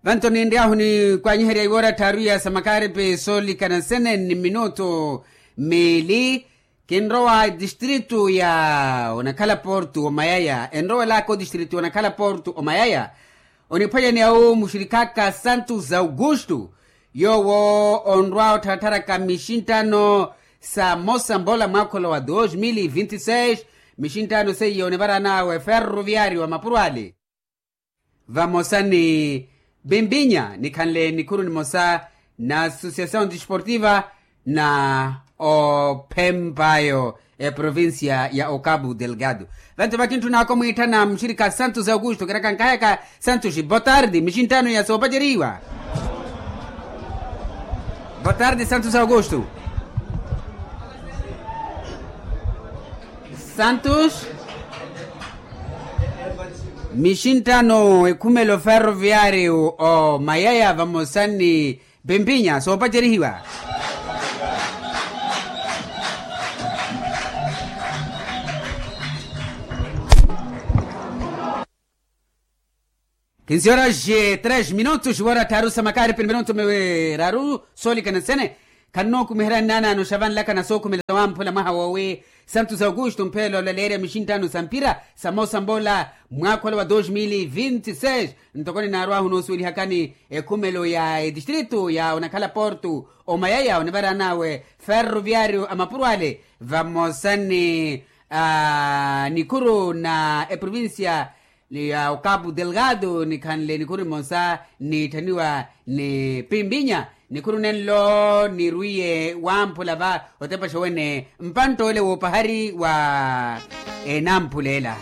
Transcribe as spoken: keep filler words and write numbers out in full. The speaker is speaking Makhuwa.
Vanto ninry'ahu nikwanyiherya iwoora tthaaru ya samakaripi soolikana nsene ni minutu miili. Kinrowa etistritu ya onakhala portu omayaya enrowelaka otistritu ya onakhala portu omayaya. Oniphwanyaneya-wu muxirikaka santos augusto, yoowo onrwa ottharattharaka mixinttano sa mosa mbola mwaakholo wa dos mil vinti seis. Mixinttano seiya onivaran'awe ferroviario wa mapuro ale vamosa ni pimpinya nikhanle nikhuru nimosa na associação desportiva na ophemp'ayo eprovincia ya ocabu delgado. Vanto vakintthun'aka omwiitthana muxirika santos augusto kiraka nkahayaka santos botardi mixinttano ya soopacerihiwa. Botardi santos augusto. Santos. Mixinttano ekhumelo ferroviario omayaya vamosa ni pimpinya soopacerihiwa. Kinsiyoraxi tres minutos iwoora tthaaru samakaripi ni minutu miraru soolikana nsene. Khannookumiherya nnaanaano xa vanlaka na sookhumela wamphula mwaha woowi santos augusto mpheelo olaleerya mixinttano sa mpira sa mosa mbola mwaakholo wa dos mil vinti seis. Ntoko ninaarwahu noosuwelihakani ekhumelo ya etistritu ya onakhala portu omayaya onivaran'awe ferroviario a mapuro ale vamosa ni nikhuru na eprovincia ya ocabu delgado nikhanle nikhuru nimosa nitthaniwa ni pimpinya. Nikhuru nenlo nirwiye wamphula va otepaxa wene mpantt'ole woopahari wa enamphula ela.